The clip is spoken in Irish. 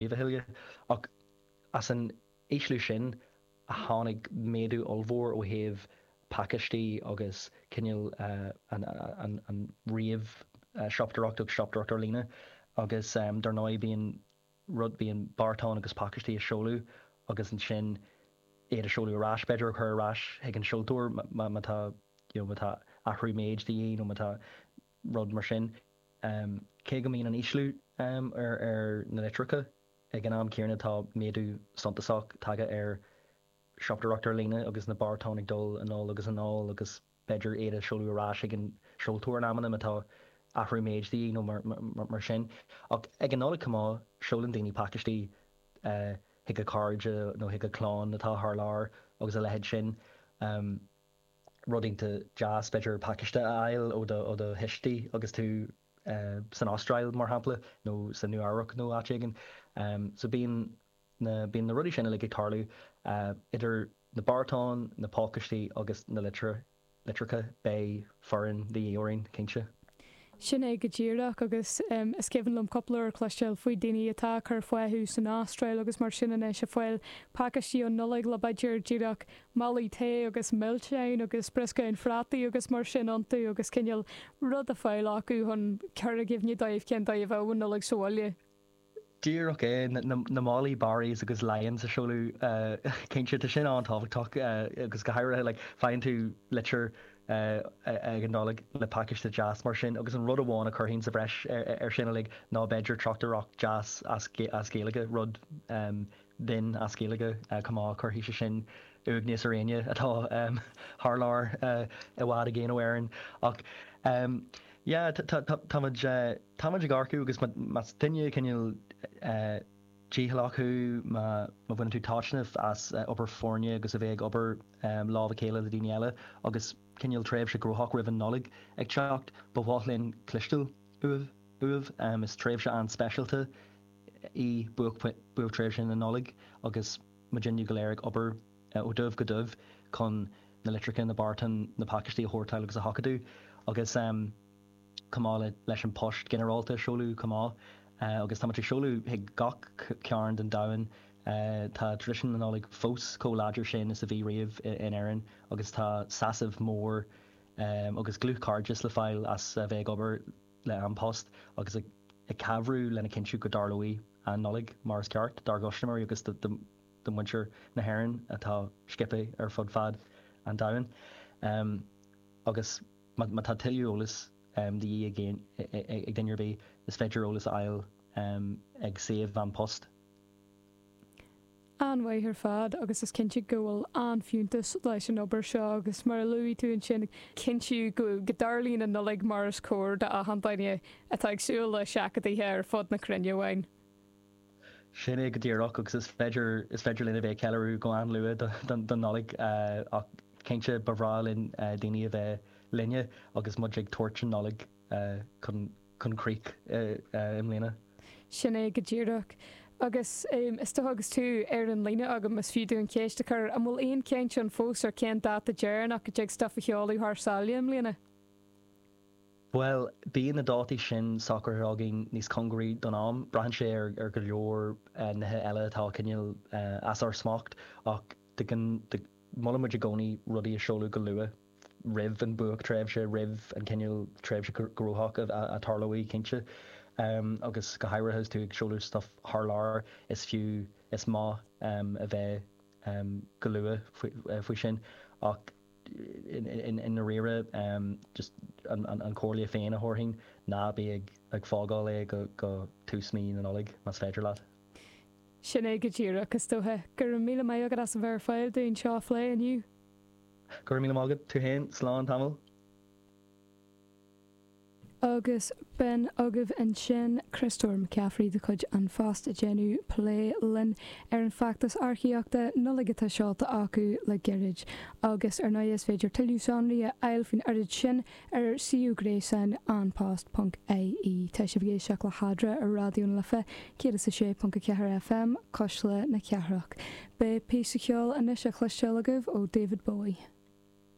a thuilleadh. Ach as an ísliú sin a tháinig méadú ollmhór ó thaobh pacáistí agus cineál an ríomh-shiopadóireacht agus siopadóireacht ar líne. Agus dar ndóigh bíonn rud, bíonn beartáin agus pacáistí á seoladh agus ansin iad a seoladh ar ais, b'fhéidir, a chur ar ais chuig an seoltóir má tá, you know, má tá athrú méid de dhíth nó má tá rud mar sin. Cé go mbíonn an ísliú ar na litreacha, ag an am céanna tá méadú suntasach tagtha ar shiopadóireacht ar líne agus na beartáin ag dul anall agus anall agus b'fhéidir iad a seoladh ar ais ag an seoltóir in amanna má tá athrú méid de dhíth nó mar sin. Ach ag an Nollaig chomh maith, seolann daoine pacáistí chuig a cairde nó chuig a clann atá thar lear agus a leithéid sin. Rud iontach deas, b'fhéidir, pacáiste a fháil ó do thuistí agus tú san Astráil, mar shampla, nó sa Nua Eabhrac nó áit éigin. So bíonn na, bíonn na rudaí sin uilig ag tarlú, idir na beartáin, na pacáistí agus na litreacha, beidh foireann de dhíth orainn, cinnte. Sin é go díreach, agus is cuimhin liom cúpla uair cloisteáil faoi daoine atá ag cur fúthu san Astráil agus mar sin anois ag fáil pacáistí um Nollaig le b'fhéidir díreach málaí tae agus milseáin agus brioscáin phrátaí agus mar sin iontu agus cineál rud a fáil acu chun cur i gcuimhne dóibh cén dóigh a bheadh an Nollaig sa bhaile. Díreach é, na málaí Barry's agus Lyons a seoladh, cinnte, tá sin an-tábhachtach agus go háirithe, like, faigheann tú litir ag an Nollaig le pacáiste deas mar sin agus an rud amháin a chuirfinn sa bhreis ar sin uilig ná b'fhéidir tráchtaireacht deas as Gaeilge, rud binn as Gaeilge chomh maith, cuirfidh sé sin uaigneas ar éinne atá thar lear i bhfad i gcéin ó Éirinn. Ach yeah, táimid táimid ag earcú agus más duine cineál dícheallach thú, má bhaineann tú taitneamh as obair foirne agus a bheith ag obair lámh a chéile le daoine eile agus cineál tréimhse gnóthach roimh an Nollaig ag teacht, ba mhaith linn cloisteáil uaibh. Is tréimhse an-speisialta í buaicthréimhse na Nollag agus muidinne go léir ag obair ó dhubh go dubh chun na litreacha, na beartáin, na pacáistí a shórtáil agus a sheachadadh agus chomh maith leis an post ginearálta a seoladh chomh maith. Agus táimid ag seoladh chuig gach cearn den domhan. Tá traidisiún na Nollag fós chomh láidir sin is a bhí riamh in Éirinn agus tá sásamh mór agus dlúthchairdeas le fáil as a bheith ag obair le An Post agus ag cabhrú lena chinntiú go dtarlóidh an Nollaig mar is ceart dár gcustaiméirí agus do mhuintir na hÉireann atá sciobtha ar fud fad an domhain. Agus má tá tuilleadh eolais de dhíth ag duine ar bith, is féidir eolas a fháil ag suíomh An Post. An-mhaith ar fad agus is cinnte go bhfuil an-fhiúntas leis an obair seo agus mar a luaigh tú ansin, cinntiú go dtarlaíonn an Nollaig mar is cóir do achan duine atá ag súil le seachadaithe ar fud na cruinne uainn. Sin é go díreach agus is féidir, is féidir linn a bheith ag ceiliúradh go an-luath don Nollaig ach cinnte ba bhreá linn daoine a bheith linne agus muid ag tabhairt an Nollaig chun chun críche i mbliana. Sin é go díreach. Agus is dócha agus tú ar an líne agam, is fiú dúinn ceist a chur, an bhfuil aon chaint ann fós ar cén dáta deireanach go dtig stuif a sheoladh thar sáile i mbliana? Bhuel, bíonn na dátaí sin socraithe againn níos cóngaraí don am. Braitheann sé ar go leor nithe eile atá cineál as ár smacht ach de molann muid i gcónaí rudaí a seoladh go luath. roimh an buaictréimhse, roimh an cineál tréimhse gnóthach a tarlóidh, cinnte. Agus go háirithe is tú ag seoladh stuff thar lear, is fiú, is maith a bheith go luath faoi sin. Ach i ndáiríre, just an chomhairle féin a thabharfainn, ná bí ag fágáil é go tús mí na Nollag, más féidir leat. Sin é go díreach, is dócha. Go raibh míle maith agat as a bheith ar fáil dúinn seo a phlé inniu. Go raibh míle maith agat, tú féin. Slán tamall. Agus b'in agaibh ansin Criostóir McCaffrey de chuid An Phost ag déanamh plé linn ar an bhfeachtas earcaíochta Nollag atá seolta acu le gairid. Agus ar ndóigh is féidir tuilleadh sonraí a fháil faoin oiread sin ar suíomh gréasáin anpost.ie. Tá sibh ag éisteacht le hEadra ar Raidió na Life 106.4 FM, Cuisle na Cathrach. Beidh píosa ceoil anois á chloisteáil agaibh ó David Bowie.